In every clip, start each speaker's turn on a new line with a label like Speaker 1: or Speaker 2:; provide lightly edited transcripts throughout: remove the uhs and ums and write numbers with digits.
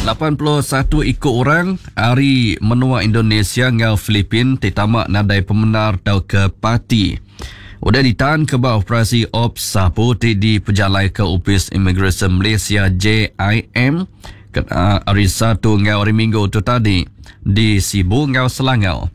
Speaker 1: 81 iku orang ari menua Indonesia enggau Filipin ti tama nadai pemendar tauka parti udah ditanka ba operasi Ops Sapu ti dipejalaika Opis Imigresen Malaysia JIM kena Hari Satu enggau Hari Minggu tu tadi di Sibu enggau Selangau.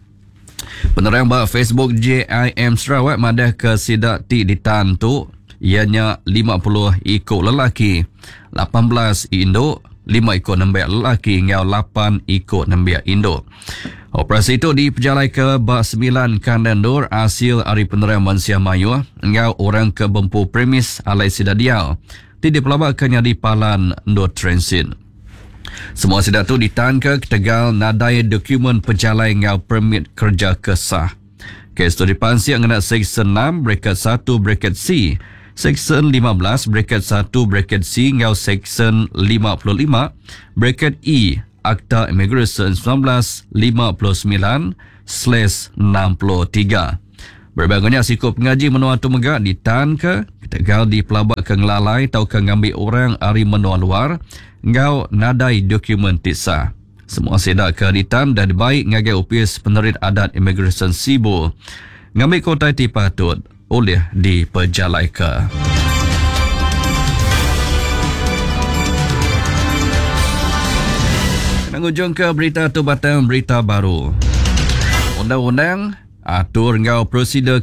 Speaker 1: Penerang ba Facebook JIM Sarawak madahka sida ti ditan tu iya nya 50 iku lelaki, 18 indu, lima iku nembiak lelaki enggau lapan iku nembiak indu. Operasi tu dipejalaika ba semilan kandang endur asil ari penerang mensia mayuh enggau orang ke bempu premis alai sida diau ti dipelabaka nyadi palan endur transit. Semua sida tu ditanka ketegal nadai dokumen pejalai enggau permit kereja ke sah. Kes tu dipansik ngena Seksyen enam bracket satu bracket C, Seksyen 15 bracket satu bracket C enggau Seksyen 55 bracket E Akta Imigresen 1959 slash 63. Berebak enggau nya, siku pengaji menua tu mega ditanka ketegal dipelabaka ngelalai tauka ngambi orang ari menua luar enggau nadai dokumen ti sah. Semua sida ke ditan udah dibai ngagai Opis Penerit Adat Imigresen Sibu ngambika utai ti patut ulih dipejalaika. Kena ngujungka berita tu batang berita baru. Undang-undang, atur enggau prosedur ke.